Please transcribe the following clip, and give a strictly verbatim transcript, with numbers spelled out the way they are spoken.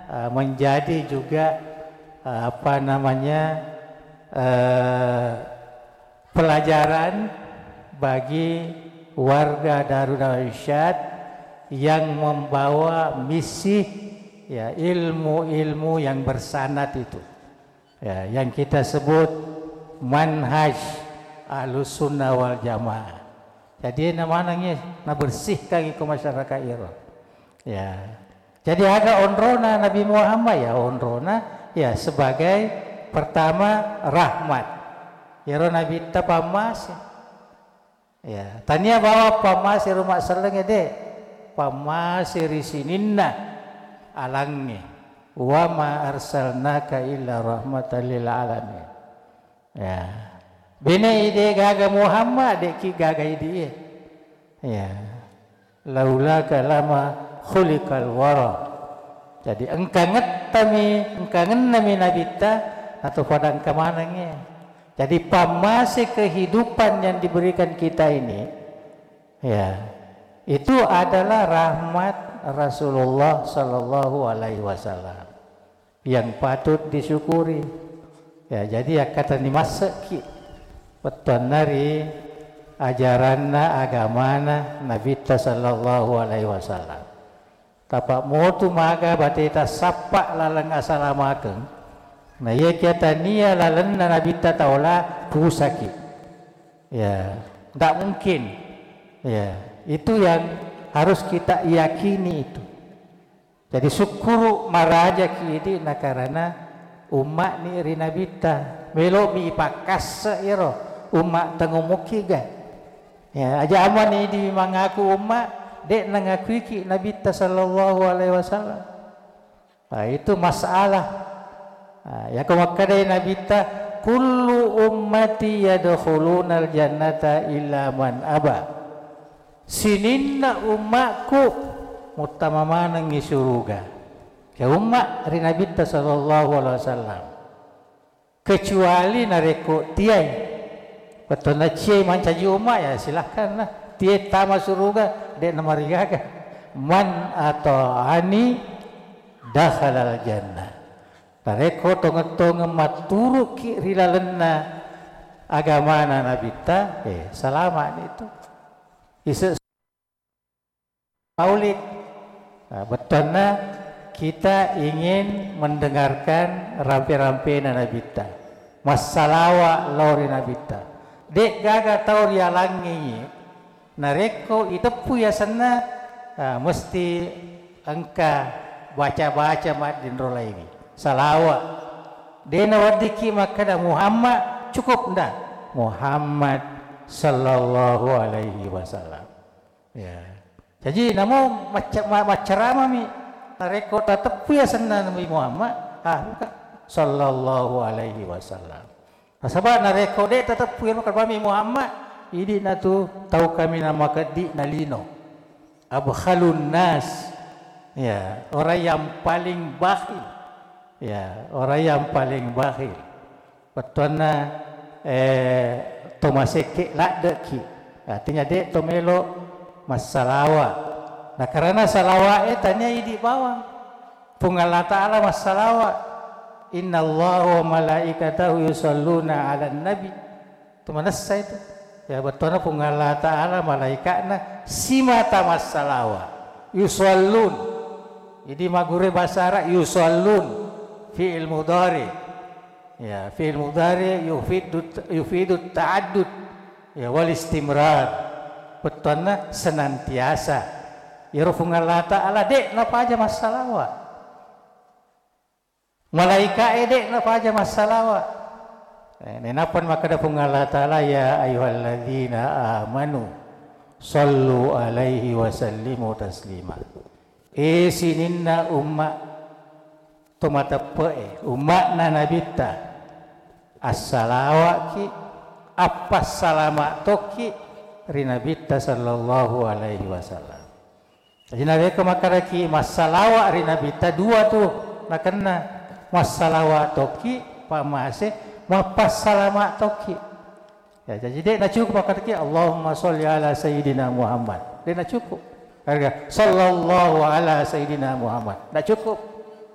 eh, menjadi juga, eh, apa namanya, eh, pelajaran bagi warga Darul Irsyad yang membawa misi, ya, ilmu-ilmu yang bersanad itu. Ya, yang kita sebut manhaj Ahlus Sunnah wal Jamaah. Jadi, na manengngi, nabersihkan iko masyarakat iro. Ya. Jadi, aga onrona Nabi Muhammad, ya, onrona, ya, sebagai pertama rahmat. Iro Nabitta pammase. Ya, tania bawang pammase ro massellengnge, de. Pammase ri sininna alangnge. Wa ma arsalnaka illa rahmatan lil alamin. Ya. Bene ide gaga Muhammad, de ki gaga idie. Ya. Laulaka lama khuliqal wara. Jadi, engka ngettami, engka ngennami Nabitta, atau pada engka manengnge. Jadi, pammase kehidupan yang diberikan kita ini, ya, itu adalah rahmat Rasulullah sallallahu alaihi wasallam yang patut disyukuri. Ya, jadi, akkatani massekki wettuanna ri ajaranna agamana Nabitta sallallahu alaihi wasallam. Tapa motu maga bateta sappa laleng asalamakeng. Na iyakia tania lalenna Nabitta taola, pusaki. Ya, ndak mungkin. Ya, itu yang harus kita yakini itu. Jadi, sukkuru marajaki idi nakarana umma'ni ri Nabitta. Melo'mi ipakkasse iro umma tengomokkiga. Ya, aja amani idi mangaku umma, de' nangakuiki Nabitta sallallahu alaihi wasallam. Nah, itu masalah. Nah, yako makkedai Nabitta, "Kullu ummati yadkhulunal jannata illa man aba." Sininna ummaku muttama manengngi suruga. Ke umma ri Nabitta sallallahu alaihi wasallam. Kecuali narekko tiai. Wettunna ciai mancaji umma, ya silahkan lah. Tiai tama suruga, de' namarigaga. Man ata'ani dakhalal jannah. Narekko tongeng-tongeng matturuki ri lalenna agamana Nabitta, eh, salama'ni tu. Ise' Maulid. Nah, bettuanna kita ingin mendengarkan rampe-rampena Nabitta. Massalawa lao ri Nabitta. De' gaga tau ri alangnge iye, narekko iteppu yasenna, ah, mesti engka baca-baca maddinro laingi. Salawa. De' naweddikki makkeda Muhammad, cukup nda? Muhammad sallallahu alaihi wasallam. Ya. Jaji, namo macca-, ma-, maccaramami. Narekko tateppu yasenna Nabi Muhammad, ah, buka. Sallallahu alaihi wasallam. Nasaba narekko de' tateppu iyaro Nabi Muhammad, idi'na tu tau kaminang makeddi na lino. Abkhalun nas. Ya, orang yang paling bakhil. Ya, orang yang paling bakhil. Bettuanna, eh, to masekke ladde'ki. Artinya, de' to melo massalawa. Nah, karena salawa'e tania idi bawang. Puang Allah Ta'ala massalawa. Innallaha wa malaikatahu yusalluna 'alan nabi. Itu manessa itu. Ya, bettuanna Puang Allah Ta'ala malaika'na simata massalawa. Yusallun. Jadi, magure bahasa Arab, yusallun. Fi'il mudhari. Ya, fi'il mudhari yufidu, yufidu ta'addud. Ya, wal istimrar. Bettuanna senantiasa. Iyaro Puang Allah Ta'ala de' napaja massalawa. Malaika'e de' napaja massalawa. Eh, nenappa makkeda Puang Allah Ta'ala, "Ya ayyuhalladzina amanu sallu alaihi wa sallimu taslima." Eh, sininna umma to mateppe'e, umma'na Nabitta, assalawa'ki, appassalama tokki ri Nabitta sallallahu alaihi wasallam. Jadi, narekko makkedaki massalawa ri Nabitta, dua tu nakenna. Massalawa tokki, pammase, mappassalama tokki. Ya, jadi de' nacukup makkedaki, "Allahumma sholli ala Sayyidina Muhammad." De' nacukup. Harga, "Sallallahu ala Sayyidina Muhammad." Ndak cukup.